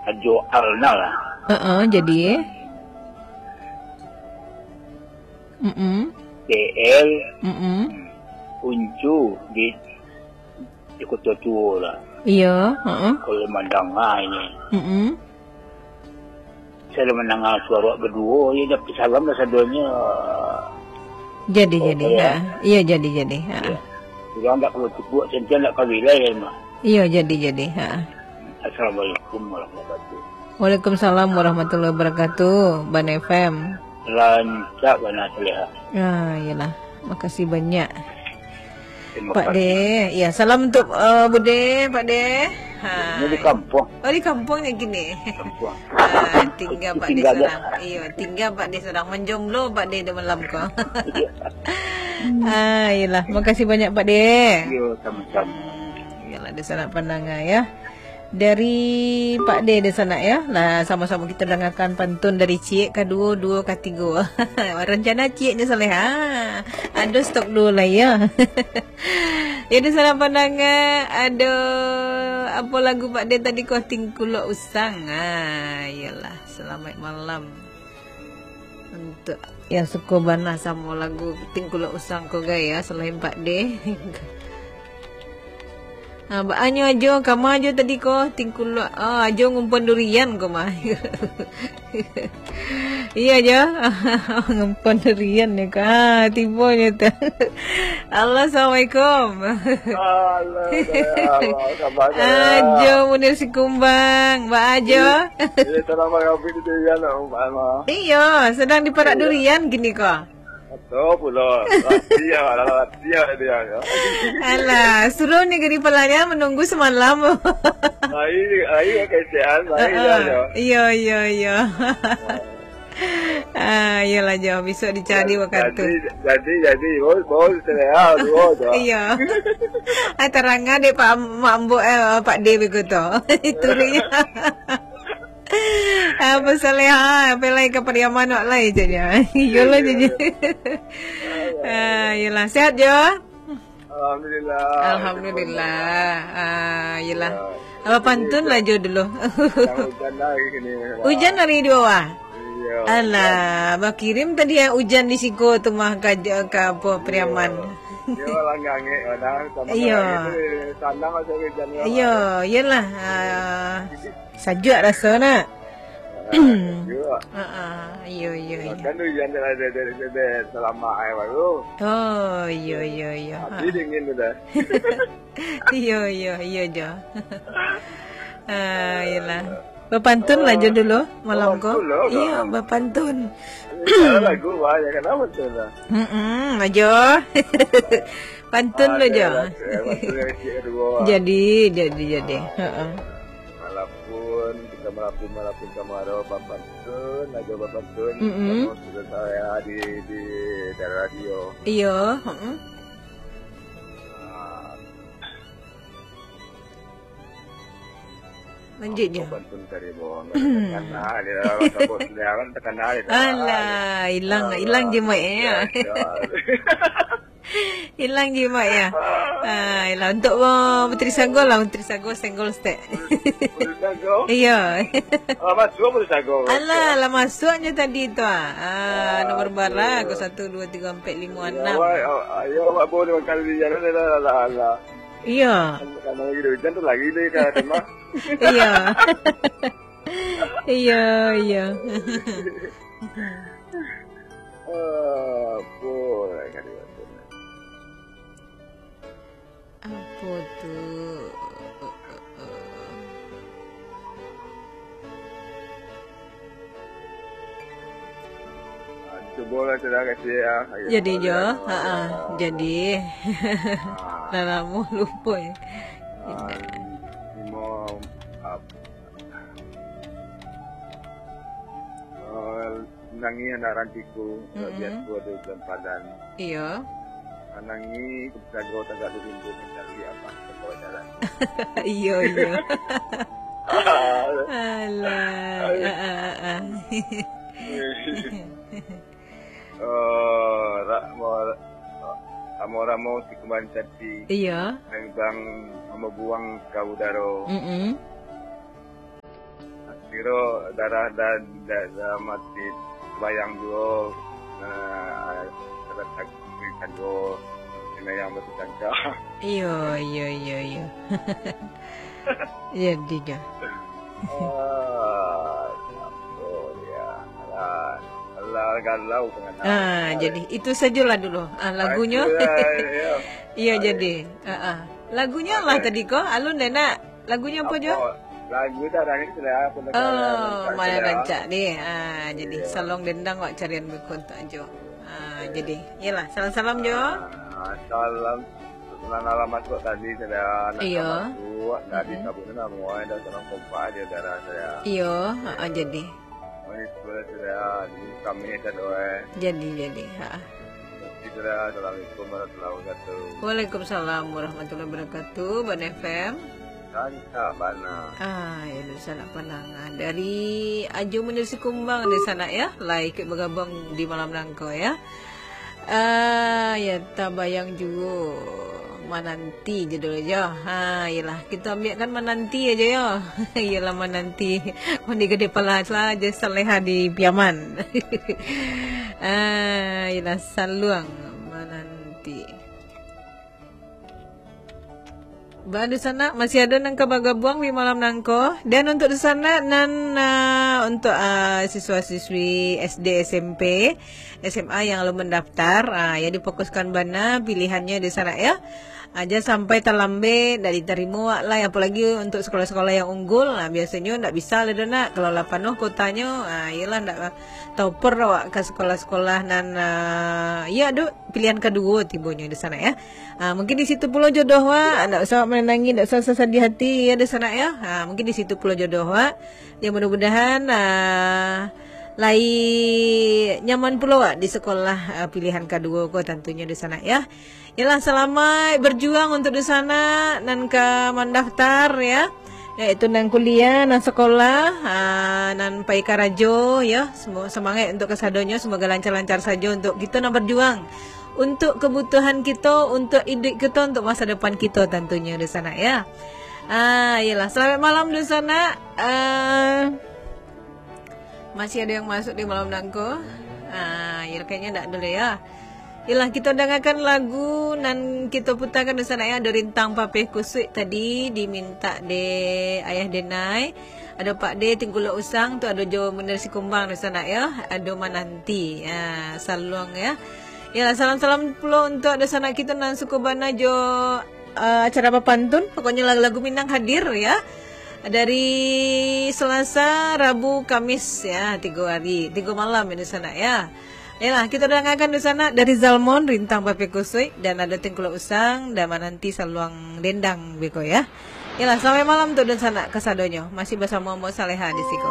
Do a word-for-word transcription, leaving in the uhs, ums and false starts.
Ajo Alna lah. Heeh, jadi. Mm-mm. T L Mm-mm. Uncu di, di Kota Tua lah. Iyo, heeh. Kalau mandanga ini. Mm-mm. Saya dah mandanga suara baduo, ya, dapat salam lah sadonyo. Jadi, Oh, jadi, ya. Ha. Iyo, jadi, jadi. Ha. Ya. Urang tak kalau cukup, sentian tak kawin lah, ya, mah. Iyo, jadi, jadi. Ha. Assalamualaikum warahmatullahi wabarakatuh. Waalaikumsalam warahmatullahi wabarakatuh, Ban F M. Rancak bana Saleha. Ah, iyalah. Makasih banyak, Terima Pak kasih. De. Ya, salam untuk, eh, Bude, Pak De. Ha. Ini di kampung. Oh, di kampungnya gini. Kampung. Ah, tinggal Pak De Tinggal dia. Seorang. Iyo, tinggal Pak De seorang. Menjomblo Pak De di malam ko. Iya. Ah, iyalah. Makasih banyak, Pak De. Iya, sama-sama. Hmm, iyalah, di sana pandanga, ya. Dari Pak De di sana, ya. Lah, sama-sama kita dengarkan pantun dari ciek kaduo, duo katigo. Rencana cieknya Saleha. Ado stok duo lah, ya. Ya, di sana pandanga, ado apo lagu Pak De tadi ko, Tingkulok Usang. Ah, iyalah. Selamat malam. Untuk yang suko bana samo lagu Tingkulok Usang ko, gai, ya, selain Pak De. Ha, baa nyo Ajo, kama Ajo tadi ko, Tingkulok, ah, Ajo ngumpon durian ko mah. Iya, Jo. Ngumpon durian ni ko. Ah, tibo nyo tu. Halo, assalamualaikum. Halo, halo, halo, khabar, Ajo Munir Sikumbang. Baa Ajo? Iya, sedang marabi di durian, Mak Alma. Iyo, sedang diparak durian kini ko. Betul pulo. Latiah, latiah dia, ya. Alah, suruh ni gini palanya menunggu semalam. Lain, lain kecehan, lain dia, Heeh. ya. Iyo, iyo, iyo. Ah, iyolah, Jo. Besok dicari waktu. Jadi, jadi, jadi. Baru, baru saya, ah, dua, Jo. Iyo. Ah, tarang dek Pak Mak Mbok, eh, Pak De begitu. Itu dia. Apa Saleha, apa lai ka Pariaman wak lai, caknyo. Iyolah, Iyo, caknyo. iyo. Ah, iyolah. Sehat, Jo? Alhamdulillah. Alhamdulillah. Ah, iyolah. Ya. Apa pantun lah, Jo, dulu. Yang hujan lah hari ni. Hujan hari dua, wah? Iya, Alah, hujan. Bakirim tadi ya hujan di siko tu mah ka, ka apa, Pariaman. Iya. Dia orang ngangek, kadang sama Iya. ngangek tu, tanah masih hujan, ya, Iya, Pak. iyolah. Ah. Sajuak raso nak. Ah, sajuak. Ha, ha. Iyo, iyo, iyo. Kan tu hujan dah, dah, dah, dah, dah, selama air baru. Oh, iyo, iyo, iyo. Tapi Ha. dingin tu dah. Iyo, iyo, iyo, Jo. Ah, iyolah. Bapantun lah, Jo, dulu malam ko. Bapantun lah, Iyo, Kak. bapantun. Ini salah lagu, wah, ya, kenapa tu lah? Mm-mm, Ajo. Pantun lo, Jo. Adalah, eh, pantun yang kecil kedua. Jadi, jadi, jadi. Ah, Heeh. Malapun, kita malapun, malapun kamaro, bapantun, Ajo bapantun, Mm-mm. sama sudah saya di, di dalam radio. Iyo, heeh. Ah. Lanjut, Jo. Apo pantun tadi, Bang? Takana dia lah, takut dia kan takana dia. Alah, ilang, Alah, ilang je mic, ya. ya, ya. Ilang je mic, ya. Ah, ilang. Untuk, uh, Puteri Sagol lah, Puteri Sagol, Senggol Stek. Puteri Sagol? Iya. Alah, masuk Puteri Sagol. Alah, lah masuknya tadi tu, ah. Ah, Ah, nomor barang, okey. Kau satu, dua, tiga, empat, lima, Ya, enam. awak, awak, ya, awak baru lima kali, ya, alah, alah, alah. Iya. Kan, kan lagi hujan tu lagi deh, kan, Mak. Iya. Iya, iya. Apo lah kali tu? Apo tu? Ah, cubolah sudah kasih, ah. Jadi, Jo. Ha, ha. Jadi. Ah. Lah lamo lupo, ya. Ah, limo, ap-, ah, Nangi anak rantiku, Mm-mm. biaso di Ujan Padan. Iyo. Manangi, sago tagak di pintu, mencari apa, sekolah jalan. Iyo, iyo. Alah. Ah, ah, ah, ah. Eh, ra-, mo-, ramo-ramo si kumbang cantik. Iyo. Nang bang mabuang ka udaro. Mm-mm. Kiro darah da-, da-, dalam ati bayang juo, eh, ada sakik kan juo, kena yang batu kancah. Iyo, iyo, iyo, iyo. Jadi jo. Ah, oh, ya. Alah, alah, galau pengantar. Ah, jadi itu sajolah dulu. Ah, lagunyo. Aduh, ya, ya. Iyo, jadi. Ah, ah. Lagunyo lah tadi ko. Alun deh nak. Lagunyo apo jo? Lagu dah nangis lah. Oh, mana rancak deh. Ah, jadi salong dendang wak carian beko tu ajo. Ah, jadi. Iyolah, salam-salam jo. Ah, salam. Nan alamat kok tadi sudah nak. Iyo. Masuk, nak disabut nama, dah salam kompak dia darah saya. Iyo, ha, jadi. Mari sebelah sudah, di kami ada doa. Jadi, jadi, ha. Sudah, assalamualaikum warahmatullahi wabarakatuh. Waalaikumsalam warahmatullahi wabarakatuh, Bana F M. Rancak bana. Ah, ya, dunsanak pandangan. Dari Ajo Munir Sikumbang, dunsanak, ya. Lah ikut bergabung di malam nangko, ya. Ah, ya, tabayang juo. Mananti je dulu jo. Ha, iyolah, kito ambiakkan mananti aja yo. Iyolah, mananti. Mandi gede pala saja saleha di Piaman. Ah, iyolah, saluang mananti. Ba, dunsanak, masih ado nan ka bagabuang di malam nangko. Dan untuk dunsanak nan, ah, untuk, ah, siswa-siswi S D, S M P, S M A yang alun mandaftar, ah, ya difokuskan bana pilihannyo dunsanak, ya. Aja sampai talambek, ndak ditarimo awak lai, apolagi untuk sekolah-sekolah yang unggul, ah, biasonyo ndak bisa lah doh nak, kalau lah panuh kuotanyo, ah, iyolah ndak topper awak ka sekolah-sekolah nan, ah, ya, duk pilihan kaduo tibonyo dunsanak, ya. Ah, mungkin di situ pulo jodoh awak, ndak usah awak manangih, ndak usah sadiah hati, ya, dunsanak, ya. Ah, mungkin di situ pulo jodoh awak. Ya, mudah-mudahan, ah, lai nyaman pulo awak di sekolah, ah, pilihan kaduo ko tantunyo dunsanak, ya. Yalah, salamaik berjuang untuk dunsanak nan ka mandaftar, ya. Yaitu nan kuliah, nan sekolah, ah, nan pai karajo, ya. Semo-, semangat untuk kasadonyo, semoga lancar-lancar sajo untuk kito nan berjuang. Untuk kebutuhan kito, untuk iduik kito, untuk masa depan kito tantunyo dunsanak, ya. Ah, iyolah, selamat malam dunsanak. Ah, masih ada yang masuk di malam nangko? Ah, ya, kayaknya ndak dulu ya. Iyolah, kito dangakan lagu nan kito putarkan dunsanak ya, ado Rintang Papeh Kusuik tadi dimintak dek Ayah Denai. Ado Pak De Tingkulok Usang tu, ado jo Munir Sikumbang dunsanak ya, ado Mananti. Ah, saluang ya. Iyolah, salam-salam pulo untuk dunsanak kito nan suko bana jo, eh, acara bapantun. Pokoknyo lagu-lagu Minang hadir ya. Dari Selasa, Rabu, Kamis ya, tigo hari, tigo malam ya dunsanak ya. Iyolah, kito dangakan dunsanak dari Zalmon, Rintang Papeh Kusuik, dan ado Tingkulok Usang, dan Mananti Saluang Dendang beko ya. Iyolah, selamat malam untuk dunsanak kasadonyo. Masih basamo Mo Saleha di siko.